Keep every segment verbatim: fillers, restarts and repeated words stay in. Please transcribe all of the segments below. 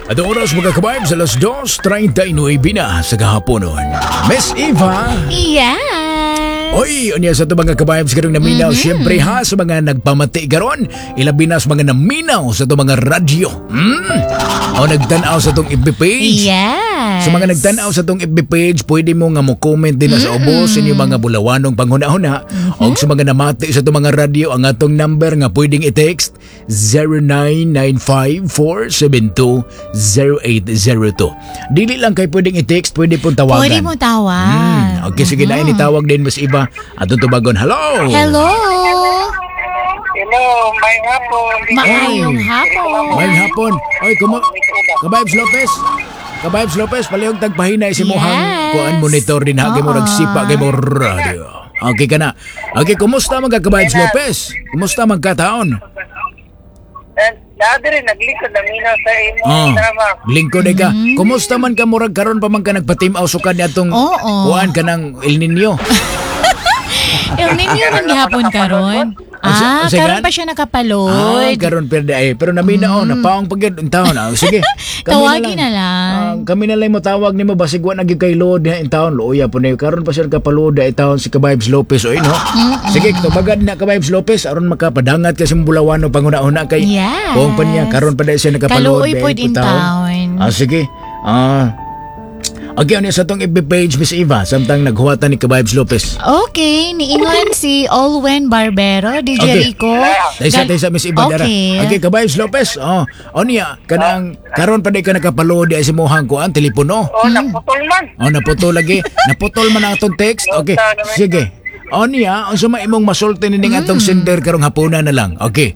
At ang oras, mga ka-vibes, alas dos trenta y nuwebe na sa kahaponon. Miss Eva! Yes! Oy, unya sa ato, mga ka-vibes, karong naminaw, mm-hmm. syempre ha, sa mga nagpamati karon, ilabi na sa mga naminaw sa ato mga radyo. Mm. O nagtanaw sa atong F B page. Yes! Sa mga nagtanaw sa atong F B page, pwede mo nga mo comment din na sa ubos mm. inyong mga bulawanong panghuna-huna. Mm-hmm. O sa mga namati sa atong mga radyo, ang atong number nga pwedeng i-text, zero nine nine five, four seven two, zero eight zero two. Dili lang kay pwedeng i-text, pwede pong tawagan. Pwede mo tawag. Mm. Okay, sige na, mm. Itawag din, Miss Iba. Atong tubagon. Hello! Hello! Hello, maayong hapon. Maayong hapon. Maayong hapon. Oy, kumo Ka-vibes Lopez. Ka-vibes Lopez, palihog tagpahina si mohang Yes. kuan monitor din ha kay mo Oo. ragsipa kay mo radio. Okay ka na. Okay, kumusta mga ka-vibes Lopez? Kumusta man kataon? Na diri naglikod na minaw sa imo Oh, drama. Lingkod ka. Kumusta man ka, murag karon pa man ka nagpatimaw sukad niadtong Oo. kuan kanang El Nino? El Nino man gihapon karon. Ah, Ang sa- karon pa siya Ah, nakapalod. karon perde ay. Pero namina oh, napaong pagid in taon. Ah, sige. Tawagi na lang. Ah, kami na lang mo tawag nimo, basig wa na gyud kay load in taon. Luoya po na karon pa siya kapaload in taon si Ka-vibes Lopez oy, no. Sige, tubagan na, Ka-vibes Lopez, aron makapadangat ka sa Bulawano panguna-una kay Yes. kung pa niya karon pa dahil siya nakapaload Kaluoy pod in taon. Ah, sige. Ah, Okay, ano sa atong F B page, Miss Eva, samtang naghuwatan ni Ka-vibes Lopez? Okay, niingon si Olwen Barbero, D J Okay. Rico. Taysa, Gal- taysa, Miss Eva, dara. Okay. Okay, Ka-vibes Lopez. Oh, o niya, kanang karon pa di ka nakapaload di sa imuhang kuan telepono. Oh, naputol man. Oh, naputol lagi. Naputol man ang atong text. Okay, sige. O niya, unsa man imong masulti nining atong sender karong hapuna na lang? Okay.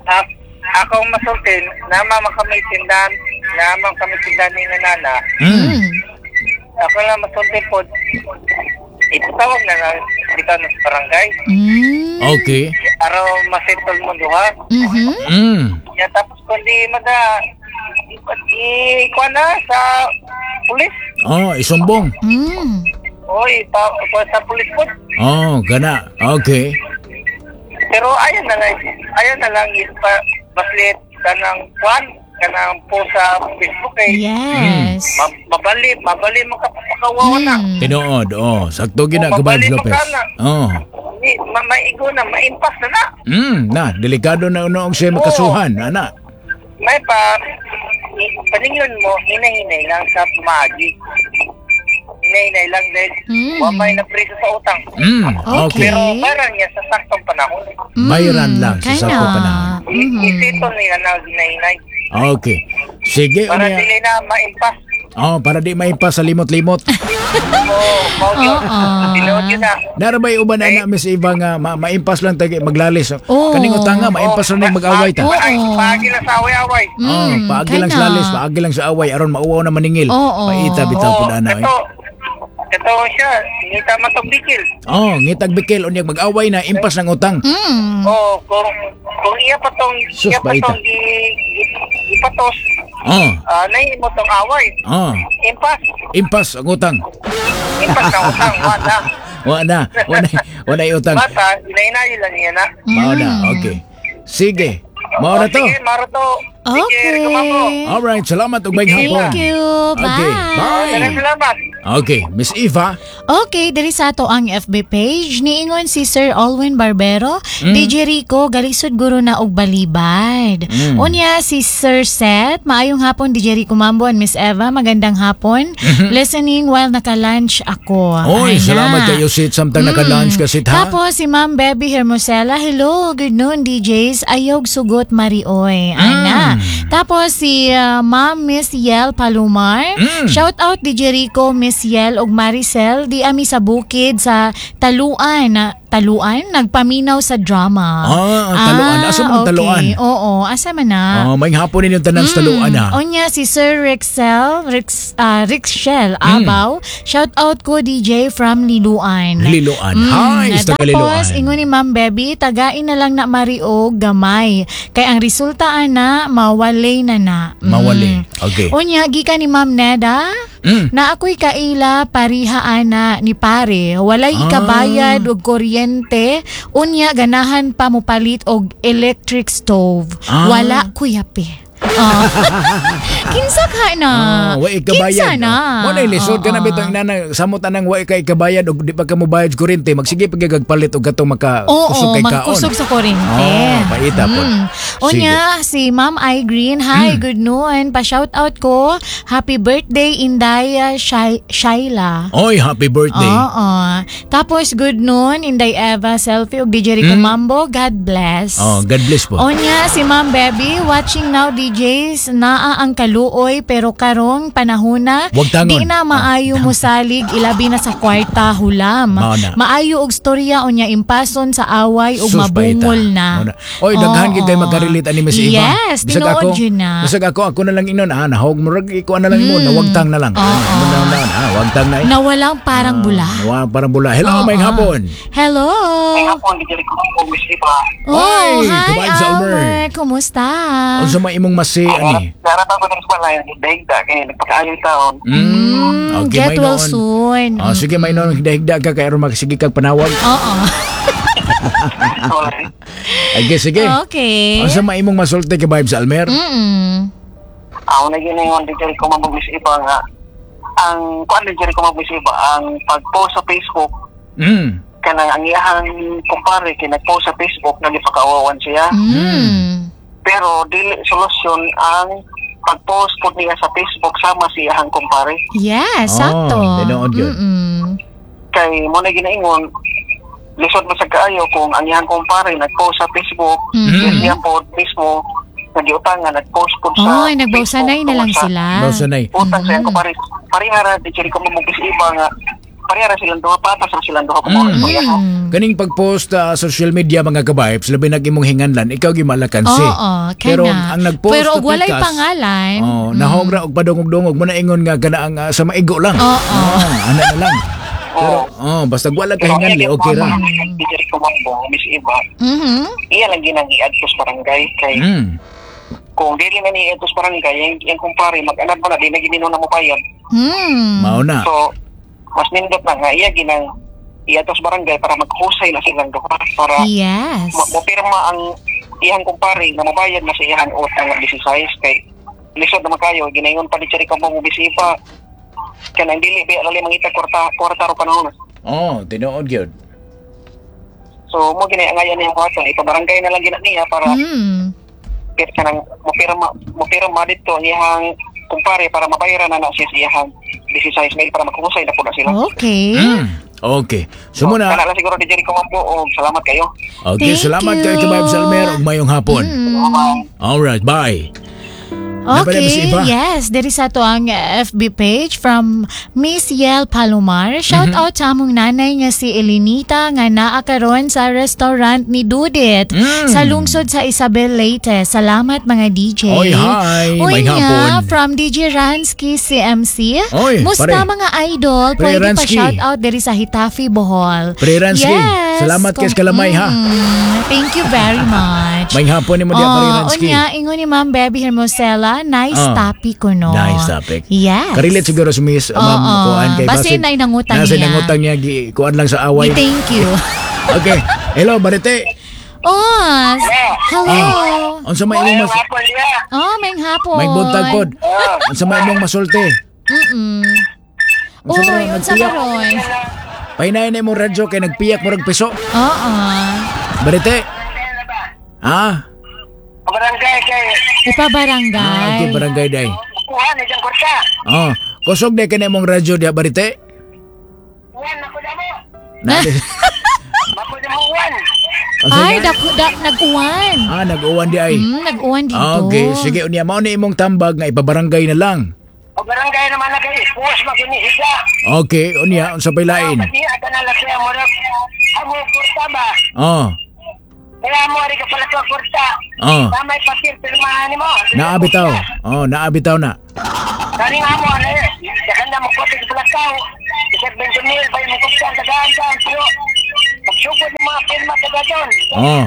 A- akong masultin, nama man kami tindahan, nama kami tindahan ni nana. Mm. Ako lang masultin po, ipatawag na na dito na sa barangay. Mm. Okay. Aron masettle mo duha. Mhm. Mm. Ya, tapos kundi mada i kuan na sa pulis. Oh, isumbong. Mm. Oy, pa, pa sa pulis po. Oh, gana. Okay. Pero ayan na lang, ayan na lang ipa baslit kanang kuan, kanang post sa Facebook eh. Yes. Ma- mabali, mabali mo ka pakawawa na. Mm. Tinuod. Oh, sakto gina, Oh, Ka-vibes mabali mo Lopez. ka na. Oh. Ni, ma maigo na, maimpas na na. Mm, na, delikado na noong siya makasuhan, ana. May pa, i- paningyon mo, hinay-hinay lang sa pamaagi. Hinay-hinay lang dahil Mm. wa may napriso sa utang. Mm, okay. Okay. Pero bayaran niya sa saktong panahon. Mm. Bayaran lang sa Kaya saktong na. panahon. I- Mhm. Isettle nila na hinay-hinay. Okay. Sige, Para unya. dili na maimpas. Oh, para di maimpas sa limot-limot. Oo, mao yun. Oo. Tinuod yun na. Narabay uban ana, Miss Eva, nga ma maimpas lang tagi maglalis. Oo. Kaning utang nga maimpas lang ning mag-away ta. Oo. Ay, paagi lang sa away-away. Oh, Mm, paagi lang sa kana. lalis, paagi lang sa away aron mauwaw na maningil. Oo. Paita bitaw Oo, pud ana. Eh. ito, ito siya, ngita man tong bikil. Oh, ngitag bikil, unya mag-away na, impas ng utang. Mm. Oo, kung kung iya pa tong Sus, iya pa baita. tong gi, gi, gipatos, Oh, ah, nahimo tong away. oh, Impas, impas ang utang. Impas ang utang, wala. Wa na, wa na, wa na utang. Bata, inainayo lang niya na. Mao na, okay. Sige. Mao na Oh, to. Sige, maro to. Sige, Okay. Rico Mambo. Alright, salamat ug maayong hapon. Thank you. Bye. Okay, bye. Maraming salamat. Okay, Miss Eva. Okay, diri sa ato ang F B page, niingon si Sir Alwin Barbero, Mm. D J Rico, galisod guro na og balibad. Mm. Unya si Sir Seth, maayong hapon D J Rico Mambo and Miss Eva, magandang hapon. Listening while naka-lunch ako. Mm-hmm. Oy, Ay na. salamat kayo, Sid, samtang naka-lunch ka, Sid, ha? Tapos si Ma'am Bebby Hermosela, hello, good noon D Js, ayog sugot Marioy. Ana. Mm. Tapos si uh, Ma'am Miss Yel Palumar, Mm. shout out D J Rico, Miss Yel ug Maricel, di ami sa bukid sa Taluan, na Taluan nagpaminaw sa drama. Ah, Taluan. Asa man okay. Taluan? Oo, asa man na? Oh, maayong hapon ninyong tanan sa Taluan ha. Onya si Sir Rixel, Rix, ah, Rixel Mm. Abaw. Shout out ko D J from Liloan. Liloan. Hi, sa taga Mm. Tapos, Liloan. ingon ni Ma'am Bebby, tagain na lang na Mario gamay. Kay ang resulta ana, mawalay na na. Mm. Mawali. Okay. Unya, gikan ni Ma'am Neda, Mm. na ako'y kaila pariha ana ni pare. Walay Ah. ikabayad og kuryente, unya ganahan pa mopalit og electric stove. Ah. Wala kuyapi. Oh. Kinsa ka na? Oh, wa ikabayad. Kinsa na? Mo na lisod ka na Oo. bitong inana samot anang wa ka ikabayad og di pa ka mobayad sa kuryente, magsige pa gyud palit og katong maka Oo, kusog kay kaon. magkusog sa kuryente. Oh, paita po. Mm. Unya, si Ma'am I Green, hi, good noon. Pa-shout out ko. Happy birthday, Inday Shai- Shaila. Oy, happy birthday. Oo. Tapos, good noon, Inday Eva, selfie, ug D J Rico Mambo. God bless. Mm. Oh, God bless po. Onya, si Ma'am Beby, watching now D Js, naa ang kaluoy pero karong panahona, Wag tangon. di na maayo mosalig, ilabi na sa kwarta hulam. Mao na. Maayo og storya unya impason sa away ug Sus, mabungol paita. na. Mao na. Oy, daghan Oo. gid kay makarelate ani Miss Eva. Yes, Bisag tinuod ako, yun na. Bisag ako, ako na lang inon, ah, nahog murag ikuan na lang mo, nawagtang na lang. Oo. Ah, mo na na, ah, wagtang na. Eh. Nawalang parang bula. Nawa parang bula. Hello, Oo. may hapon. Hello. May hapon, D J Rico Mambo, Miss Iba. Oh, Oy, hi ka-vibes, Albert. Albert. Kumusta? Unsa may imong masi ani? Naratan ko ng balay, higda kay nagpakaayo taon. Mm, Okay, get may well noon. soon. Ah, sige, may noon higda-higda ka kay aron magsige kag panawag. Oo. Sorry. Okay, sige. Okay. Unsa may imong masulti ka Vibes Almer? Mm. Ako na yun yung D J Rico Mambo, Miss Iba nga. Ang kuan D J Rico Mambo, Miss Iba, ang pag-post sa Facebook, Mm. kanang ang iyahang kumpare kay nag-post sa Facebook nagipakaawawan siya. Mm. Pero dili solusyon ang pag-post po niya sa Facebook sama si iyahang kumpare. Yes, Oh, sakto. tinuod yun. Mm-mm. Kay mo na ginaingon lisod mo sa kaayo kung ang iyahang kumpare nag-post sa Facebook, Mm. siya po mismo nagiutangan nag-post po sa Oy, nagbawsanay na lang tungkol sa sila. Bawsanay. Utang sa iyang kumpare. Parehara di Jericho Mamugis iba nga parehara silang duha, patas ra silang duha kung Mm. mm. Mm. Kaning pag-post sa social media mga ka-vibes, labi nag imong hinganlan, ikaw gimalakansi. Oo, kana. Pero ang nag-post Pero sa og walay pikas, pangalan. Oh, nahog ra og padungog-dungog mo na ingon nga kana ang ah, sa maigo lang. Oo. Oh, ana na lang. Pero oh, basta wala ka hinganli, okay ra. Di Jericho Mambo, Miss Iba, Mhm. iya lang ginang i-adto sa barangay kay Mm. kung dili na ni i-adto sa barangay, yung, yung kumpare mag-anad mo na di na ginino na mo bayad. Mm. Mao na. So mas nindot na nga iya ginang i-adto sa barangay para maghusay na silang duha para Yes. ma- mopirma ang iyang kumpare na mabayad na sa iyang utang nga sixteen kay lisod naman kayo ginayon pa ni Jericho Mambo, Miss Iba, kanang dili ba lali mangita kwarta kwarta ro panahon. Oh, tinuod gyud. So mo gini ang ayan niyang buhaton, ipabarangay na lang gina niya para Mm. pir kanang mopirma mopirma dito ang iyang kumpare para mabayaran na na siya sa iyang sixteen mil para maghusay na po na sila. Okay. Mm. Okay. So muna, Kana lang siguro di Jericho Mambo og salamat kayo. okay, Thank salamat you. kay ka-vibes Almer ug mayong hapon. Mm. All right, bye. Napala, Miss Okay, Eva? yes. Diri sa ato ang F B page from Miss Yel Palomar. Shout Mm-hmm. out sa among nanay nga si Elenita nga naa karon sa restaurant ni Dudit Mm. sa lungsod sa Isabel Leyte. Salamat mga D J. Oy, hi. Uy May nga, hapon. from D J Ransky C M C. Oy, Musta pare. mga idol? Pre Pwede pa Ransky. shout out diri sa Getafe, Bohol. Pre Ransky, Yes. salamat kay sa kalamay, ha. Mm, Thank you very much. May hapon nimo diya, Pre Oh, Ransky. unya, ingon ni Ma'am Beby Hermosela, nice Ah. topic ko, no? Nice topic. Yes. Karelate siguro si Miss uh, Ma'am Oo. kuan kay Basin na inangutang nasa niya. inangutang niya gi kuan lang sa away. Thank you. Okay. Hello, Barite. Oh, hello. Unsa may imong mas Hapon diya. Oh, may hapon. May buntag pod. Unsa may imong masulti? Mm-mm. Unsa Uy, may unsa nagpiyak? ka ron? Pahinay na imong radyo kay nagpiyak murag piso. Oo. Barite. Ah, Barangay kay Ipabarangay. ah okay, barangay day. kuha ni diyang kwarta. Oh, kusog day kay imong radyo diha, Barite. Uwan ako damo. Na. Ako damo uwan. Unsa Ay, nga? daku, da, nag-uwan. Ah, nag-uwan di ay. Mm, nag-uwan dito. Okay, sige unya mao ni imong tambag nga ipabarangay na lang. O barangay naman na kay puwas maginihiga. Okay, unya unsa pay lain? Pati ka na lang siya mo amo kwarta ba? Oh, Kaya mo ari ka pala to kwarta. oh. Tamay papel pirmahan nimo. Naabitaw. Oh, naabitaw na. Kani nga mo ano eh. Sa kanda mo kote sa Bulacau. Isa twenty mil pa yung kuptan tagaan daan pero pagsugod ng mga pirma taga doon. Oh,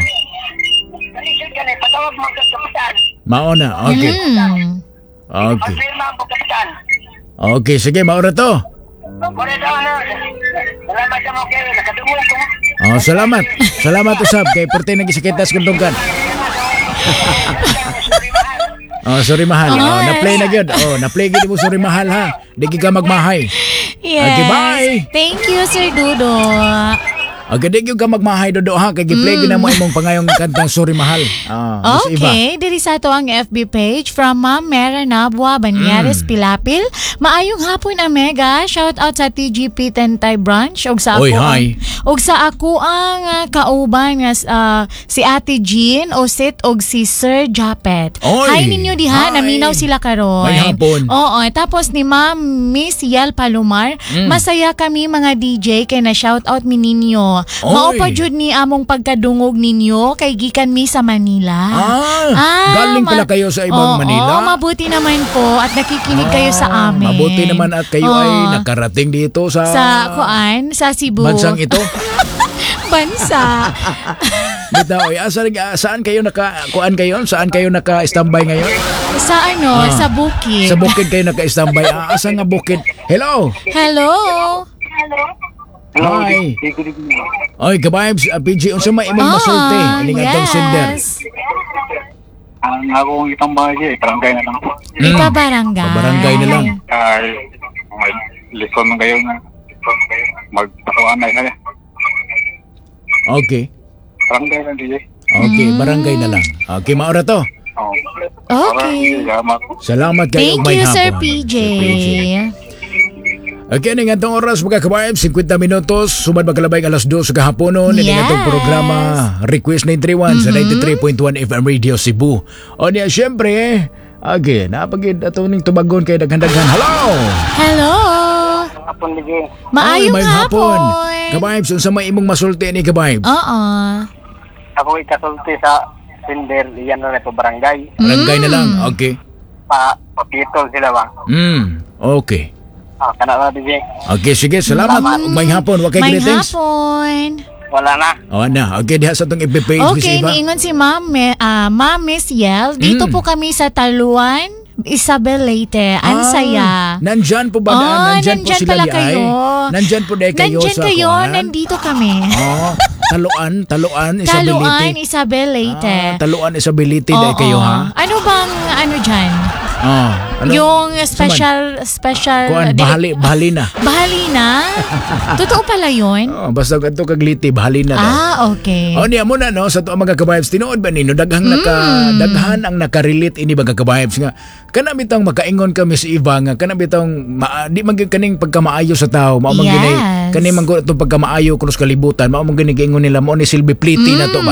Kalisod ka na patawag mo ang kapitan. mao na. Okay. Mm. Okay. Pagpirma ang kapitan. Okay, sige, mao na to. Mura daw na. Salamat sa mo kayo. Nakadungog ko. Oh, salamat. Salamat usab kay perti nagisakitas kundungkan. Oh, sorry mahal. Oh, Oh, na-play na gyud. Oh, na-play gyud mo sorry mahal ha. Di gyud ka magmahay. Yes. Okay, bye. Thank you, Sir Dudo. Okay, di gyud ka magmahay Dodo ha kay gi-play gyud na mo imong pangayong kantang sorry mahal. Ah, Miss Eva. Okay, diri sa ato ang FB page from Ma'am Mera Nabwa Banyares Mm. Pilapil. Maayong hapon Amega. Shout out sa TGP Tentay Branch ug sa Oy, ako hi. ang, ug sa ako ang ah, kauban nga ah, si Ate Jean Osit ug si Sir Japet. Oy, Hi ninyo diha, hi. naminaw sila karon. May hapon. Oo, tapos ni Ma'am Miss Yel Palomar, Mm. masaya kami mga DJ kay na shout out mi ninyo. Oy. Mao pa jud ni among pagkadungog ninyo kay gikan mi sa Manila. Ah, galing pala ma- kayo sa ibang Oo, Manila? mabuti naman po at nakikinig kayo sa Ah, amin. Mabuti naman at kayo Oo. ay nakarating dito sa sa kuan, sa Cebu. bansang ito. Bansa. Bitaw, oy, asa saan kayo naka kuan kayo? Saan kayo naka-standby ngayon? sa ano, Ah. sa bukid. Sa bukid kayo naka-standby. Ah, asa nga bukid? Hello. Hello. Hello, Hi. di- di- di- Oy, ka-vibes, uh, PJ, unsa may imong Ah, masulti ining atong sender? yes. Ang akong itambay siya, barangay na lang. Mm. Ipabarangay. Pabarangay na lang. Ay, may lison man kayo nga. Magpatuan na siya. Okay. Barangay lang, DJ. Okay, Mm. barangay na lang. Okay, maura to. Oh. Okay. Salamat. Salamat kayo Thank may you, Sir hapon. PJ. Sir PJ. Okay, ning atong oras mga ka-vibes, 50 minutos, sumad magkalabay alas 2 sa kahaponon, yes. Yes. atong programa Request 931 sa 93.1 FM Radio Cebu. O niya, syempre, okay, napagid ato ning tubagon kay daghan-daghan. Hello! Hello. Hapon, DJ. Maayong Oy, maayong hapon. Ka-vibes, unsa may imong masulti ni ka-vibes? Oo. Ako ikasulti sa sender, iyan na ito barangay. Barangay na lang. Okay. Pa, papitol sila ba? Mm, okay. Ah, kana na, DJ. Okay, sige, salamat. Ug Maayong hapon, wa kay May greetings. hapon. Wala na. O na, okay diha sa atong FB page Miss Okay, Eva. niingon si Ma'am, Me- ah, Ma'am Miss Yel. Dito Mm. po kami sa Taluan, Isabel Leyte. Ang Ah, saya. Nandyan po ba? Oh, nandyan, po nandyan sila pala di ay? kayo. Nandyan po di kayo Nandyan sa kayo, kuan? nandito kami. Oh, taluan, taluan, Isabelite. Taluan, Isabel Leyte. Ah, taluan, Isabelite dahil Oo. kayo ha. Ano bang ano dyan? Oh, ano? Yung special, special... Kuan, di- bahali, bahali na. Bahali na? Totoo pala yun? Oh, basta kadto kag Leyte, bahali na daw. Ah, okay. O niya mo na no sa tuang mga ka-vibes tinuod ba nino daghang naka Mm. daghan ang nakarelate ini mga ka-vibes nga kana bitang makaingon ka Miss Eva nga kana bitang ma, di man gyud kaning pagkamaayo sa tao mao man Yes. gini kani man gud itong pagkamaayo krus kalibutan mao man gini giingon nila mao ni silbi pliti na to ba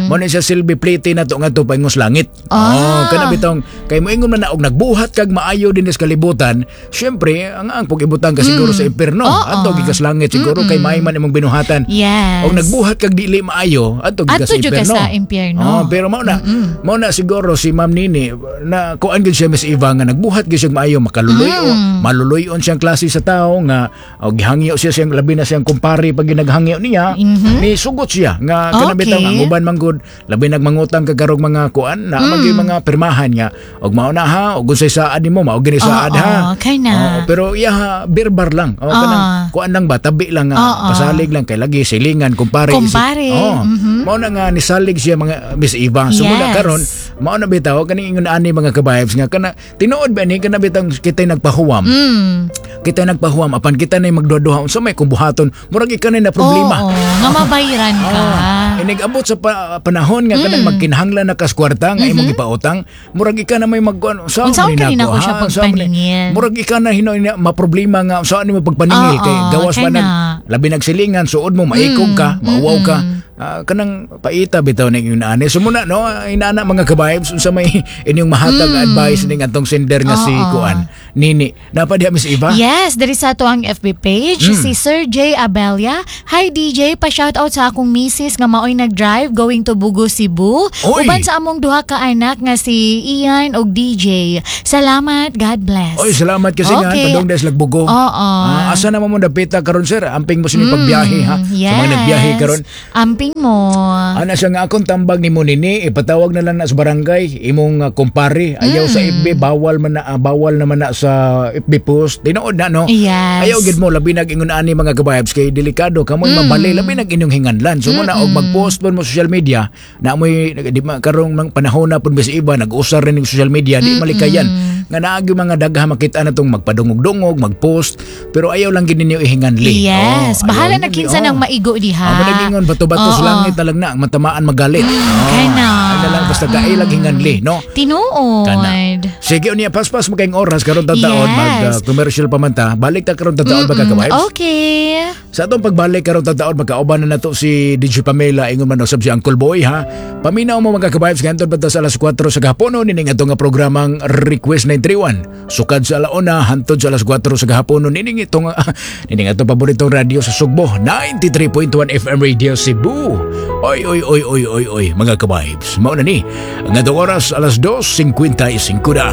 mao ni siya silbi pliti na to nga to paingos langit Ah. oh kana bitong kay moingon man na og nagbuhat kag maayo dinhi sa kalibutan syempre ang ang pag-ibutang ka siguro sa impierno Oo. adto gikas langit siguro kay maayo man imong binuhatan Yes. Og nagbuhat kag dili maayo adto gikas Adto sa jud ka impierno. sa impyerno. Oh, pero mao na mao na siguro si Ma'am Nini na kuan gyud siya Miss Eva nga nagbuhat gyud siya maayo makaluloy o Mm. maluloy-on siyang klase sa tao nga og gihangyo siya siyang labi na siyang kumpare pag ginaghangyo niya ni sugot siya nga kana Mm-hmm. Okay. bitaw ang uban man gud labi nagmangutang kagarog mga kuan na mm. Mm. mga pirmahan nga og mao na ha og unsay saad nimo mao gini saad Oo, ha kay na. Oo, pero iya ha birbar lang o kanang Ah. kuan lang ba tabi lang nga Oo. pasalig lang kay lagi silingan kumpare Kumpare, Oh, mhm. mao na nga nisalig siya mga Miss Eva. So muna Yes. karon, mao na bitaw kaning ingon ani mga ka-vibes nga kana tinuod ba ni kana bitang kitay nagpahuwam. Mm. Kita nagpahuwam apan kita nay magduha-duha unsa may kung buhaton murag ikaw na problema. Oo, nga mabayiran ka. Oh, inig-abot sa pa- panahon nga Mm. kanang magkinahanglan na kas kwarta nga imong gipautang, murag ika na may magkuan unsa Mm-hmm. Unsaon man ka ni rin nako, ako siya ha? Unsaon man ni- pagpaningil? Murag ika na hinoy na maproblema nga unsaon nimo pagpaningil Oo, kay gawas kay pa nag na. labi nagsilingan suod mo maikog ka, Mm, mauwaw ka. Ah, kanang paita bitaw ning inaani. So muna no, inaana mga ka-vibes unsa may inyong mahatag advice ning atong sender nga si Mm. Oo. kuan. Nini, napa diha Miss Eva? Yes, diri sa ato ang FB page Mm. si Sir J Abelia. Hi DJ, pa-shout out sa akong misis nga maoy nag-drive going to Bugo, Cebu. Oy! Uban sa among duha ka anak nga si Ian ug DJ. Salamat, God bless. Oy, salamat kasi nga Okay. padung des lagbugo. Oo. Ah, asa naman mo dapita karon sir? Amping mo sini pagbiyahe ha. Mm, Yes. Sa mga nagbiyahe karon. Amping sharing mo. Ana siya nga akong tambag nimo nini, ipatawag na lang na sa barangay imong uh, kumpare. Ayaw sa F B, bawal man na, ah, bawal naman na sa F B post. Tinuod na, no? Yes. Ayaw gid mo, labi nag ingon ani, mga kabibes, kay delikado kamoy mm. mabali, labi nag inyong hinganlan. So mo na og mag-post pud mo social media na moy di ma karong mang panahon na pud bis iba nag-usar rin ng social media, di malikayan nga naagi mga dagha makita na tong magpadungog-dungog, mag-post, pero ayaw lang gid ninyo ihinganli. Yes, Oh, bahala ayaw na ninyo, kinsa oh. nang maigo diha. Amo nagingon bato-bato sa Oo. langit na lang na ang matamaan magalit. Oh, Kana. ay na lang basta kailag hinganli, no? Tinuod. Kana. Sige unya, paspas mo kayong oras karon taon, Yes. mag uh, commercial pa man ta. Balik ta karon taon, mga kabibes. Okay. Sa atong pagbalik karon taon, magkauban na nato si D J Pamela, ingon man usab si Uncle Boy, ha. Paminaw mo, mga kabibes, nganton pa ta sa alas kuwatro sa gahapon nining atong nga programang Request nine three one. Sukad sa alauna hantod sa alas kuwatro sa gahapon nining itong nining atong paboritong radyo sa Sugbo, ninety-three point one F M Radio Cebu. Oy oy oy oy oy oy, mga kabibes. Mao na ni ang atong oras, alas dos singkwenta y singko na.